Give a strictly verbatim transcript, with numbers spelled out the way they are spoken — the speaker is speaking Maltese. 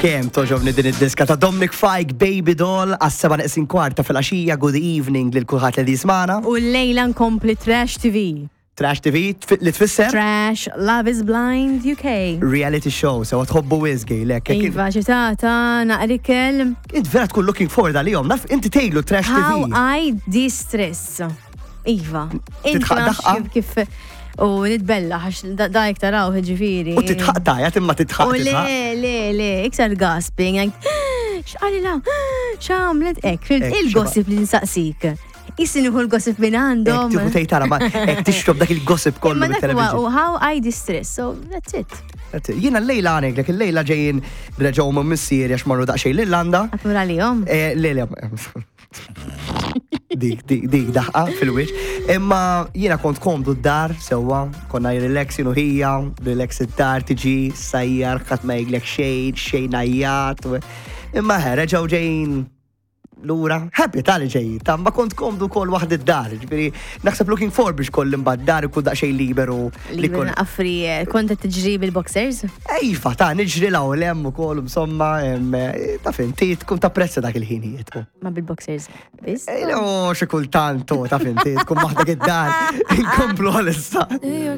Kemm togħġobni din id-diska ta' Dominic Fike, Baby Doll, għas-seba' neqsin kwarta filgħaxija. Good evening lil kulħadd li jismagħna. U l-lejla nkompli Trash T V. Trash T V tfi- li tfisser? Trash Love is Blind U K. Reality show, so tħobbu wisq, lek. Iva, ċitata, naqrikel. Int vera tkun looking forward għalihom, naf inti tgħidlu Trash How T V. I de-stress. Iva. Inti Titħaq nafx daħqa? kif kif u nitbella, għax da da taraw ġifieri. U titħaq tajat imma titħaq U le, titħaq. le, le, iktar gasping, like, x'qalilha, x'għamlet ek, Ek, il-gossip li nsaqsik. Issi nieħu l-gossip minn Ek għandhom. tieħu tgħid tara ma ek tixrob dak il-gossip kollu Imma dak huwa mit-television. u how I de-stress, so that's it. Jiena l-lejla għanek, il-lejla ġejjin reġgħu minn missieri għax marru daqsxejn l-Irlanda. Għatmur għalihom. Eh, Le, le, dik, dik, dik, daħqa fil-wiċ. Imma jiena kont komdu d-dar, sewwa, konna relax jien u ħija, relax id-dar tiġi, sajjar, ħadd ma jgħidlek xejn, xejn għajjat. Imma ħe, reġgħu ġejjin lura, happy tal ġejjin, ta' ma kont komdu kol waħd id-dar, ġifieri, naħseb looking forward biex koll imbagħad dar ikun daqsxejn liberu. Li Li kol- affri, kont qed tiġri bil-boxers? Iva, ta' niġri 'l hawn 'l hemm ukoll, insomma, em, eh, ta' finti, tkun tapprezza dak il-ħinijiet. Ma bil-boxers. Biss? Eh, no, xi kultant, oh, ta' finti, tkun waħdek id-dar, inkomplu għalissa. New York.